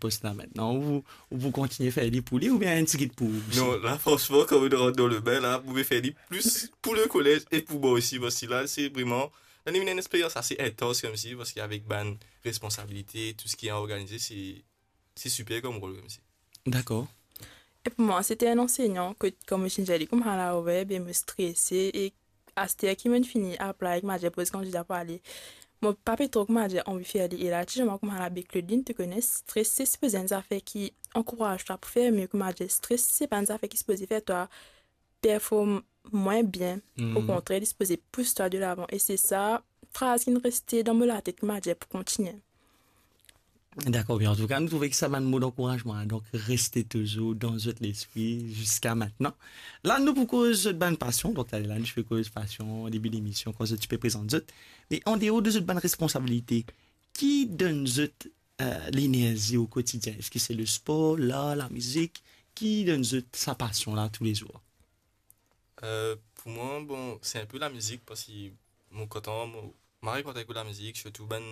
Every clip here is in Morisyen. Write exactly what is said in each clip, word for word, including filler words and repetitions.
pos la aster, ou, ou pou kontigne fer li pou li oubien enn tigit pou ou osi? Non, la, fransman, kan nou rant dan le bin la, mo pe fer li plis pou le kolez e pou mwa osi, parski la, se vreman, la, li ena enn experyans ase intans koumsi, parski avek bann responsabilite, tou seki organize, se, se siper kom rol koumsi. Dakor. E pou mwa, se ti enn ansegnan kot, kouma mo ti dir li, kouma la, wi, be mo strese, e aster ki mo finn fini aplay, kouma dir, poz kandida pou ale, mo pa pe tro, kouma dir, anvi fer li. E la, ti zis kouma la, be Claudine, to kone, stres, se sipoze enn zafer ki ankouraz twa pou fer mie, kouma dir, stres, se pa enn zafer ki sipoze fer twa perform mwin bien. Hmm. Okontrer, li sipoze pous twa delavan. E se sa fraz ki reste dan mo latet, kouma dir, pou kontigne. Dakor, bien. Antouka, nou trouve ki sa bann mo dankourazman, donk, reste touzour dan zot lespri ziska aster. La, nou pou koz zot bann pasion. Donk, taler la, nou ti pe koz pasion, debi lemision, kan zot ti pe prezant zot. Me andeor de zot bann responsabilite, ki donn zot, eh, lenerzi o kotidien? Eski se le spor, lar, lamizik? Ki donn zot sa pasion la toulezour? Eh, pou mwa, bon, se inpe lamizik, parski mo kontan, mo, mo mari kontan ekout lamizik, sirtou bann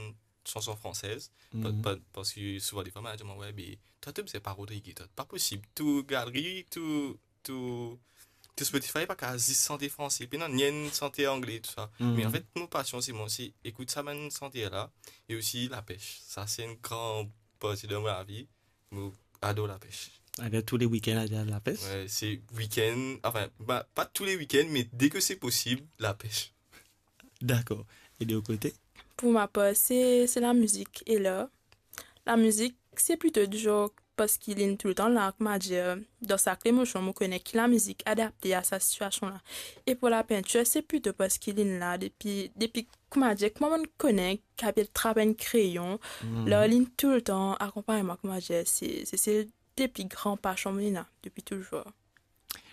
sanson fransez. Pa-, Mhm. pa-, parski souvan defwa, mo dir, "Wi, be, twa to bizin pa rod rege, twa, pa posib. Tou galeri, tou, tou, tou Spotify pa kapav zis sante franse, pena nanye sante angle, tou sa." Mhm. Me anfet, mo pasion, se mo, se ekout sa bann sante la, e osi lapes. Sa, se enn gran parti dan mo lavi. Mo ador lapes. Alor, tou le wikenn, ale lapes? Wi, se wikenn, anfin, pa, pa tou le wikenn, me deki se posib, lapes. Dakor. E de lot kote? Pou mo par, se, se lamizik e lar. Lamizik, se plito dizor parski linn toultan la, kouma dir, dan sak lemosion, mo kone ki lamizik adapte a sa sitiasion la. E pou lapintir, se plito parski linn la depi, depi, kouma dir, kouma mo kone, ki apel trap enn kreyon, Hmm. lar linn toultan akonpagn mwa, kouma dir, se, se, se de pli gran pasion mo ena depi touzour.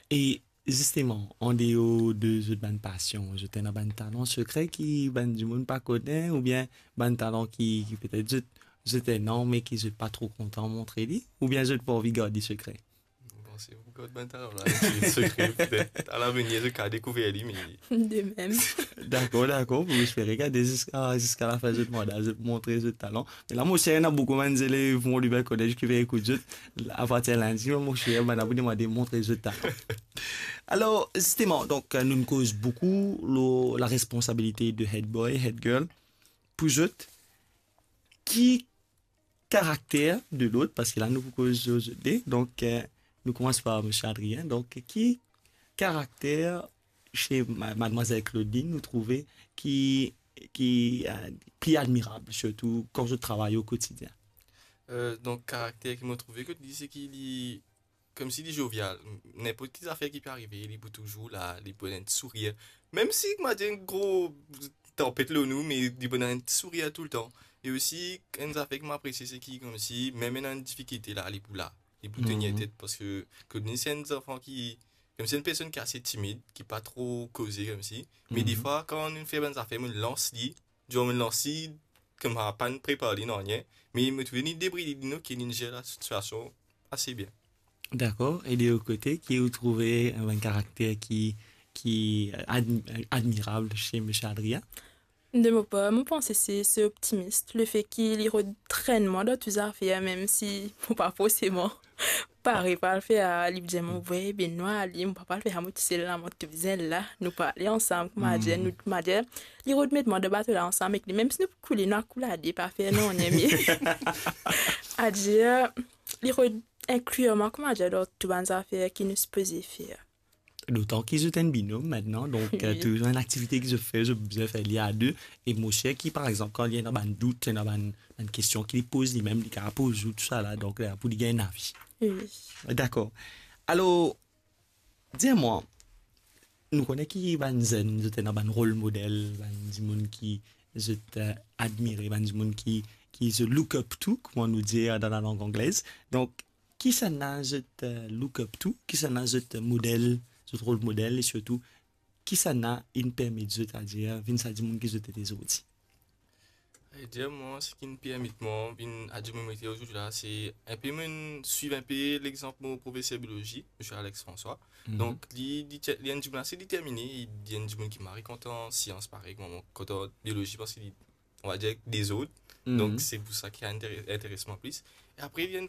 E zisteman, andeor de zot bann pasion, zot ena bann talan sekre ki bann dimoun pa kone, oubien bann talan ki, ki petet zot, zot ena, me ki zot pa tro kontan montre li, oubien zot pa anvi gard li sekre? Bon, si ou gard bann talan la, se sekre, petet alavenir, zot kapav dekouver li, me De mem. Dakor, dakor, pou espere gard ziska, ziska lafin zot manda, zot montre zot talan. Me la, mo sir, ena boukou bann zelev Mont Lubin College ki pe ekout zot, apartir lindi, mo sir, bann la pou demande montre zot talan. Alor, zisteman, donk, nou koz boukou lor laresponsabilite de head boy, head girl. Pou zot, ki karakter de lot, parski la nou pou koz zot de, donk, eh, nou koumans par misie Adrien. Donk, ki karakter se ma-, madmwazel Claudine, ou trouve ki, ki, eh, pli admirab, sirtou kan zot travay o kotidien? Eh, donk, karakter ki mo trouve kot li, se ki li, koumsi li zovial. Ninport ki zafer ki pe arive, li pou touzour la, li pou ena enn sourir. Mem si, mo dir, enn gro tanpet lor nou, me li pou ena enn sourir toultan. E osi, enn zafer ki mo apresie, se ki, koumsi, mem ena enn difikilte la, li pou la. Li pou tenir Mhm. tet, parski Claudine, se enn zanfan ki, koumsi enn personn ki ase timid, ki pa tro koze koumsi. Me Mhm. defwa, kan nou fer bann zafer, mo lans li, dior mo lans li, kouma pa prepar li nanye, me mo trouve li debrouye li, ok, li zer lasitiasion ase bien. Dakor. E de lot kote, ki ou trouve enn karakter ki, ki admi-, admirab se misie Adrien? De mo par, mo panse se, se optimis. Lefe ki li rod trenn mwa dan tou zafer, mem si mo pa forseman pare pou al fer, li dir mwa, "Wi, be nou ale, mo pa pou al fer sa mwa tousel la, mo tou bizin la, nou pou ale ansam," kouma dir, Mhm. nou, kouma dir, li rod met mwa dan bato la ansam ek li, mem si nou pou koule, nou a koule a de, pa fer nanye, me adir, li rod inklir mwa, kouma dir, dan tou bann zafer ki nou sipoze fer. Dotan ki zot enn binom aster, donk, eh, Wi. touzour enn aktivite ki zot fer, zot bizin fer li a de. E mo sir ki, par exanp, kan li ena bann dout, ena bann, bann kestion ki li poz limem, li kapav poz ou tousala, donk, eh, pou li gagn lavi. Wi. Dakor. Alor, dir mwa, nou kone ki bann zenn, zot ena bann rol model, bann dimoun ki zot, eh, admire, bann dimoun ki, ki zot look up to, kouma nou dir dan lalang anglez. Donk, kisannla zot, eh, look up to, kisannla zot model, zot rol model, e sirtou, kisannla inn permet zot, adir, vinn sa dimoun ki zot ete zordi? E dir mwa, seki inn permet mwa vinn sa dimoun mo ete zordi la, se inpe mo swiv inpe lexanp mo profeser biolozi, misie Alex François. Mhm. Donk, li, li ti-, li enn dimoun ase determine, li enn dimoun ki mari kontan sians, parey kouma mo kontan biolozi, parski li, on va dire, dezord. Mhm. Donk, se pou sa ki intere-, interes mwa plis. E apre, li enn